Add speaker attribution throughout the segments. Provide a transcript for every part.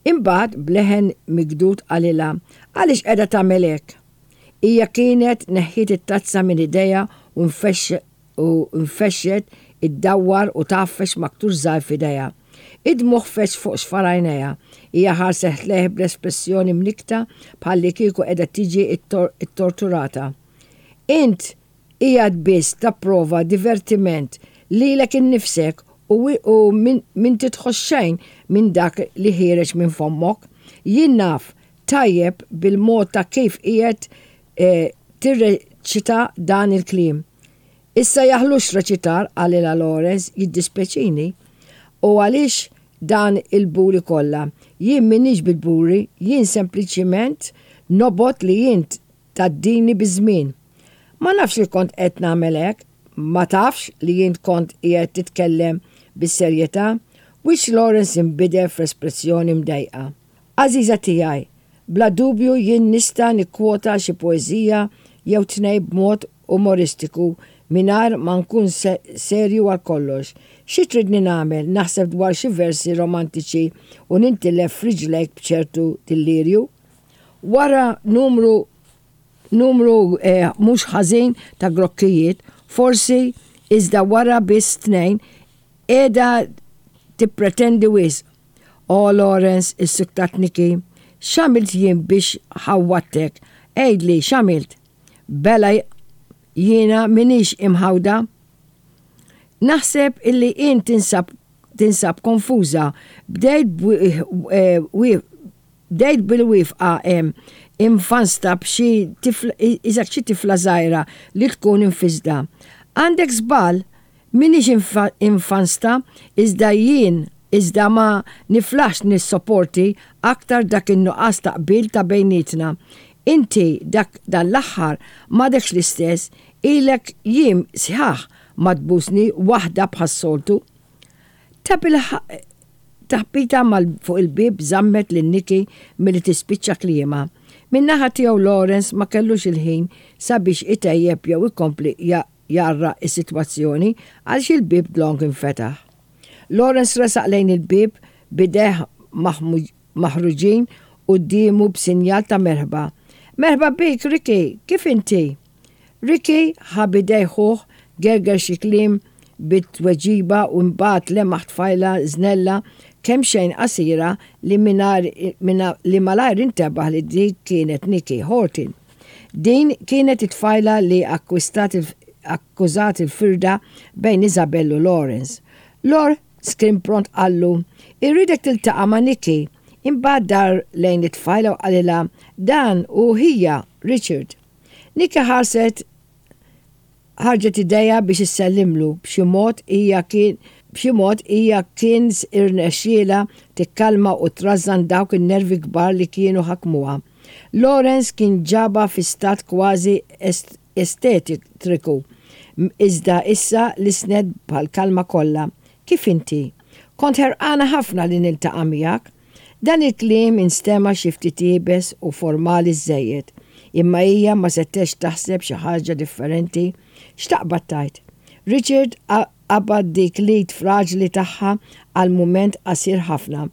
Speaker 1: Imbagħad b'leħen mikdud qalilha, Għaliex qiegħda tagħmel hekk? Hija kienet neħħiet it-tazza minn idejha u u nfexxet iddawwar u tgħaffeġ maktur żgħir f'idejha. Id-dmugħ feġġ fuq xfar għajnejha. Hija ħarset lejh bl-espressjoni mnikkta bħallikieku qiegħda tiġi ttorturata. Int qiegħed biss tapprova divertiment lilek innifsek u u m'inti tħoss xejn minn dak li ħiereġ minn fommok. Jien naf tajjeb bil-mod ta' kif qiegħed tirreċita dan il-kliem. Issa jaħlux reċitar, qalilha Lawrence, jiddispjaċini. U għaliex dan il-buri kollha? Jien m'iniex bil-buri, jien sempliċiment nobgħod li int tgħaddini biż-żmien. Ma nafx li kont qed nagħmel hekk, ma tafx li int kont qiegħed titkellem bis-serjetà? Wiċċ Lawrence inbidel f'espressjoni mdejqa. Għażiża tiegħi, bla dubju jien nista' nikkwota xi poeżija jew tnejn b'mod umoristiku mingħajr ma nkun serju għal kollox. Xi tridni nagħmel, naħseb dwar xi versi romantiċi u nintilef f'riġlejk b'ċertu dillirju? Wara numru numru mhux ħażin ta' grokkijiet, forsi, iżda wara biss tnejn, qiegħda tippretendi wisq. O Lawrence, issuktat Nikki, x'għamilt jien biex ħawwadtek? Għidli, x'għamilt? Bela jiena m'iniex imħawda. Naħseb illi int tinsab tinsab konfuża. Bdejt bdejt bil-wifqa hemm imfansta b'xi tifla qisek xi tifla żgħira li tkun imfissda. Għandek żball, M'iniex infansta, iżda jien iżda ma niflaħx nissoporti aktar dak in-nuqqas ta' qbil ta' bejnietna. Inti dak dan l-aħħar m'għadekx l-istess, ilek jiem sħaħ ma tbusni waħda bħas-soltu. Tabilħaqq taħbita mal fuq il-bieb żammet lil Nikki milli tispiċċa kliemha. Min-naħa tiegħu Lawrence ma kellux il-ħin sabiex itejjeb jew ikompli jgħarraq is-sitwazzjoni għaliex il-bieb dlonk infetaħ. Lawrence resaq lejn il-bieb b'idejh maħruġin quddiemu b'sinjal ta' merħba. Merħba bik, Ricky! Kif inti? Ricky ħa b'idejh ħuh, gerger xi kliem bi tweġiba u imbagħad lemaħ tfajla żnella kemxejn qasira li mingħajr li malajr intebaħ li dik kienet Nikki Horton. Din kienet it-tfajla li akkwistat akkużat il-firda bejn Isabelle u Lawrence. Lor kien pront qallu, Irridek tiltaqa' ma' Nikki. Imbagħad dar lejn it-tfajla u qalilha, Dan hu ħija, Richard. Nikki ħarset Ħarġet idejha biex issellimlu, b'xi mod hija kien b'xi mod hija kien irnexxielha tikkalma u trażżan dawk in-nervi kbar li kienu ħakmuha. Lawrence kien ġabha fi stat kważi estetitriku, iżda issa lissnet bħall-kalma kollha, Kif inti? Kont ħerqana ħafna li niltaqa' miegħek. Dan il-kliem instema' xi ftit iebes u formali żżejjed, imma hija ma setgħetx taħseb xi ħaġa differenti. X'taqbad tgħid? Richard qabad dik l-id fraġli tagħha għal mument qasir ħafna.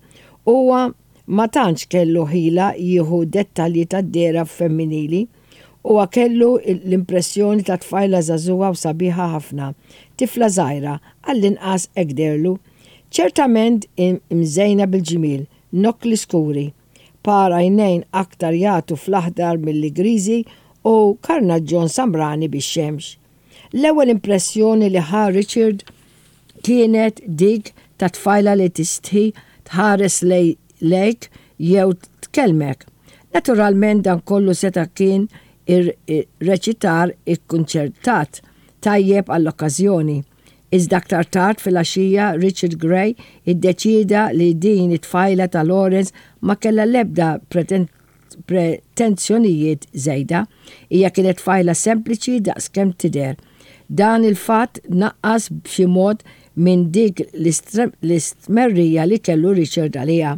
Speaker 1: Huwa ma tantx kellu ħila jieħu dettalji tad-dehra femminili. Huwa kellu l-impressjoni ta' tfajla żagħżugħa u sabiħa ħafna, tifla żgħira, għall-inqas hekk dehrlu. Ċertament imżejna bil-ġmiel, nokkli skuri, par għajnejn aktar jagħtu fl-aħdar milli griżi u karnaġġon samrani bix-xemx. L-ewwel impressjoni li ħa Richard kienet dik ta' tfajla li tistħi tħares lejk jew tkellmek. Naturalment dan kollu seta' kien reċitar ikkunċertat tajjeb għall-okkażjoni. Iżda aktar tard filgħaxija Richard Gray iddeċieda li din it-tfajla ta' Lawrence ma kellha l-ebda pretensjonijiet żejda. Hija kienet tfajla sempliċi daqs kemm tidher. Dan il-fatt naqqas b'xi mod minn dik l-istmerrija li kellu Richard għaliha,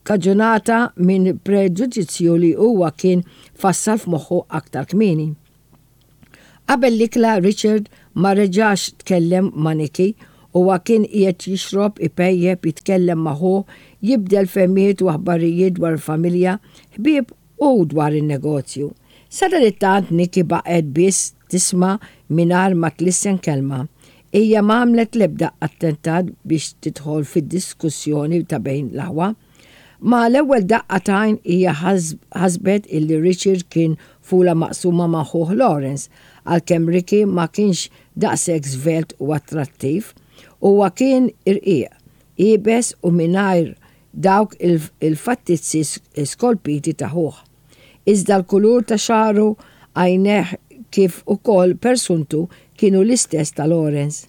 Speaker 1: ikkaġunata minn preġudizzju li huwa kien fassal f'moħħu aktar kmieni. Qabel l-ikla Richard ma reġax tkellem ma' Nikki Huwa kien qiegħed jixrob, ipejjep, jitkellem ma' ħuh, jibdel fehmiet u aħbarijiet dwar il-familja, ħbieb u dwar in-negozju. Sadanittant Nikki baqgħet biss tisma' mingħajr ma tlissen kelma. Hija ma għamlet l-ebda attentat biex tidħol fid-diskussjoni ta' bejn l-aħwa. Ma' l-ewwel daqqa t'għajn hija ħasbet illi Richard kien fula maqsuma ma' ħuh Lawrence, għalkemm Ricky ma kienx daqshekk żvelt u attrattiv. Huwa kien irqiq, iebes u mingħajr dawk il-fattizzi skolpiti ta' ħuh. Iżda l-kulur ta' xagħru, għajnejh kif ukoll persuntu kienu l-istess ta' Lawrence.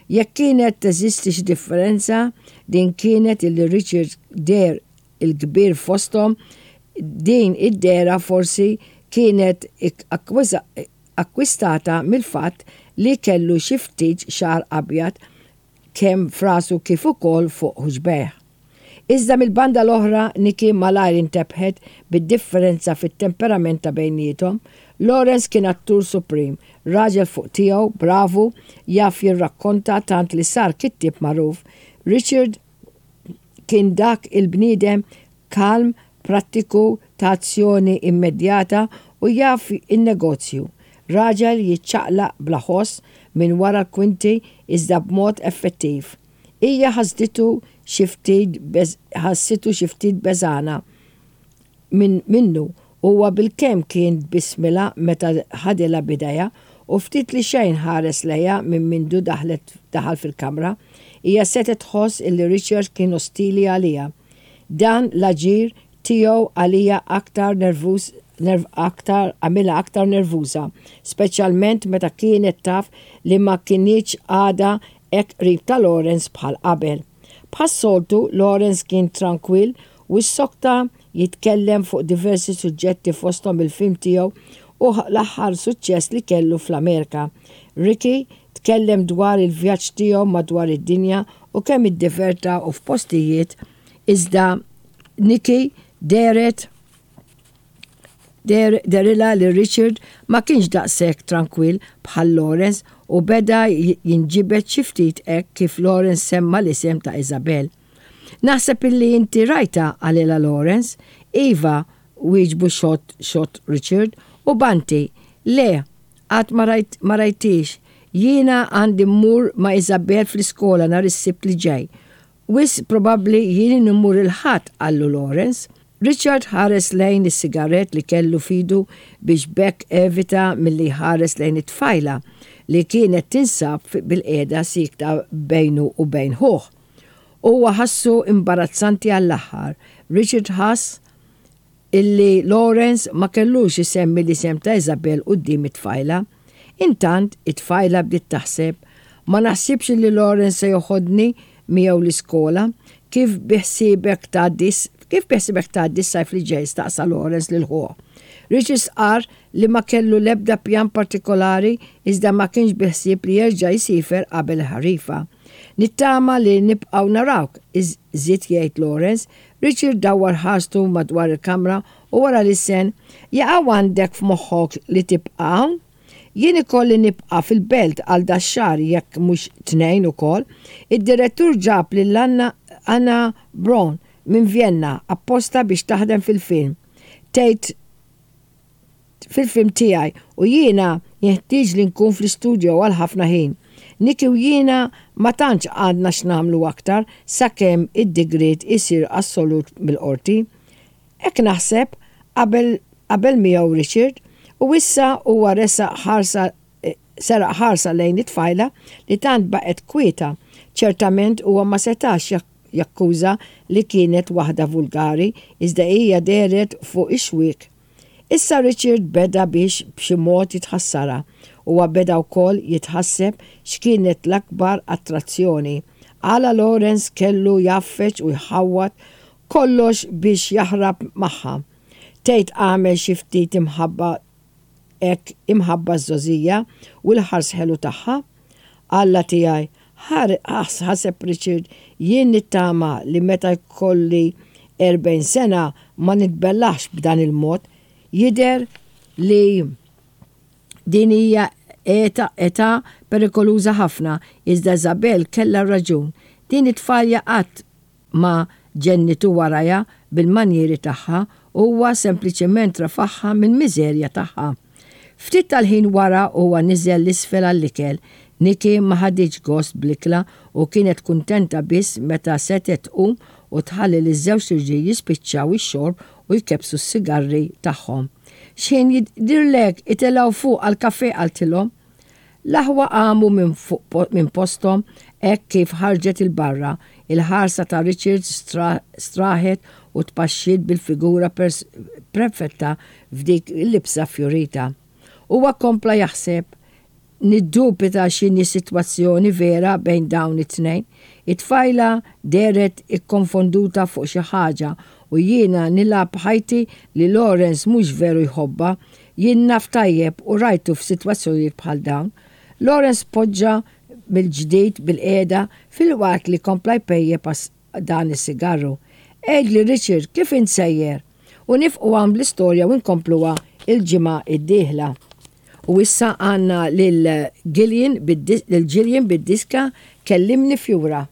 Speaker 1: Jekk kienet teżisti xi differenza, din kienet illi Richard deher il-kbir fosthom, din id-dehra forsi kienet akkwistata mill-fatt li kellu xi ftit xagħar abjad kemm f'rasu kif ukoll fuq ħuġbejh. Iżda mill-banda l-oħra Nikki malajr intebħet bid-differenza fit-temperament ta' bejniethom. Lawrence kien attur supreme, raġel fuq tiegħu, bravu, jaf jirrakkonta tant li sar kittieb magħruf. Richard kien dak il-bniedem kalm, prattiku, ta' azzjoni immedjata u jaf in-negozju. Raġel jiċċaqlaq bla ħoss minn wara l-kwinti iżda b'mod effettiv. Hija ħasditu xi ftit ħassitu xi ftit beżgħana minn minnu. Huwa bilkemm kien tbissmilha meta ħadilha b'idejha u ftit li xejn ħares lejha minn mindu daħlet daħal fil-kamra. Hija setgħet tħoss illi Richard kien ostili għaliha. Dan l-aġir tiegħu għaliha aktar nervuż aktar għamilha aktar nervuża, speċjalment meta kienet taf li ma kinitx għadha hekk qrib ta' Lawrence bħal qabel. Bħas-soltu, Lawrence kien trankwill u ssokta jitkellem fuq diversi suġġetti fosthom il-film tiegħu u l-aħħar suċċess li kellu fl-Amerika. Ricky tkellem dwar il-vjaġġ tiegħu madwar id-dinja u kemm iddiverta u f'postijiet iżda Nikki dehret Dehrilha li Richard ma kienx daqshekk trankwill bħal Lawrence u beda jinġibed xi ftit hekk kif Lawrence semma l-isem ta' Isabel. Naħseb illi inti rajtha, qalilha Lawrence. Iva, wieġbu xott xott Richard u Banti. Le, għad ma rajt ma rajthiex. Jiena għandi mmur ma' Isabel fl-iskola nhar is-Sibt li ġej. Wisq probabbli jien immur il-Ħadd, qallu Lawrence. Richard ħares lejn is-sigarett li kellu f'idu biex b'hekk evita milli jħares lejn it-tfajla li kienet tinsab bilqiegħda siekta bejnu u bejn ħuh. Huwa ħassu imbarazzanti għall-aħħar. Richard ħass illi Lawrence ma kellux isemmi l-isem ta' Isabel quddiem it-tfajla. Intant, it-tfajla bdiet taħseb, Ma naħsibx illi Lawrence se joħodni miegħu l-iskola. Kif biħsiebek tgħaddi kif biħsiebek tgħaddi s-sajf li ġej? staqsa Lawrence lil ħuh. Richard stqarr li ma kellu l-ebda pjan partikolari iżda ma kienx biħsieb li jerġa' jsiefer qabel il-ħarifa. Nittama li nibqgħu narawk, żied jgħid Lawrence. Richard dawwar ħarstu madwar il-kamra u wara lissen, Jaqaw għandek f'moħħok li tibqa' hawn? Jien ikolli nibqa' fil-belt għal dax-xahar jekk mhux tnejn ukoll. Id-direttur ġab lil Anna Anna Braun minn Vjenna apposta biex taħdem fil-film. Tgħid fil-film tiegħi u jiena jinħtieġli nkun fl-istudio għal ħafna ħin. Nicky u jiena ma tantx għandna x'nagħmlu aktar sakemm id-digriet isir assolut mill-qorti. Hekk naħseb, qabel qabel miegħu Richard, u issa huwa resaq ħarsa seraq ħarsa lejn it-tfajla li tant baqgħet kwieta. Ċertament huwa ma setax jakkuża li kienet waħda vulgari iżda hija dehret fuq ix-xwiek. Issa Richard beda biex b'xi mod jitħassarha. Huwa beda wkoll jitħasseb x'kienet l-akbar attrazzjoni. Għala Lawrence kellu jgħaffeġ u jħawwad kollox biex jaħrab magħha. Tgħid għamel xi ftit imħabba hekk imħabba ż-żgħożija u l-ħars ħelu tagħha? Alla tiegħi, ħaseb Richard, jien nittama li meta jkolli 40 sena ma nitbellahx b'dan il-mod. Jidher li din hija Eta, età perikoluża ħafna, iżda Isabelle kellha raġun. Din it-tfalja qatt ma ġennitu warajha bil-manjieri tagħha, huwa sempliċement rafagħha mill-miżerja tagħha. Ftit tal-ħin wara huwa niżel 'l isfel għall-ikel. Nikki ma ħaditx gost bl-ikla u kienet kuntenta biss meta setgħet tqum u tħalli liż-żewġt irġiel jispiċċaw ix-xorb u jkebbsu s-sigarri tagħhom. X'ħin jidhirlek itilgħu fuq għall-kafè qaltilhom. L-aħwa qamu minn fuq minn posthom hekk kif ħarġet 'il barra. Il-ħarsa ta' Richard straħet u tpaxxiet bil-figura prefetta f'dik il-libsa fjurita. Huwa kompla jaħseb, Niddubita x'inhi s-sitwazzjoni vera bejn dawn it-tnejn. It-tfajla dehret ikkonfonduta fuq xi ħaġa u jiena nilgħab ħajti li Lawrence mhux veru jħobbha. Jien naf tajjeb u rajtu f'sitwazzjonijiet bħal dawn. Lawrence poġġa mill-ġdid bilqiegħda filwaqt li kompla jpejjep dan is-sigarru. Għidli Richard kif int sejjer? U nifqu hawn bl-istorja u nkompluha il-ġimgħa d-dieħla. U issa għandna lil Gillian lil Gillian bid-diska Kellimni Fjura.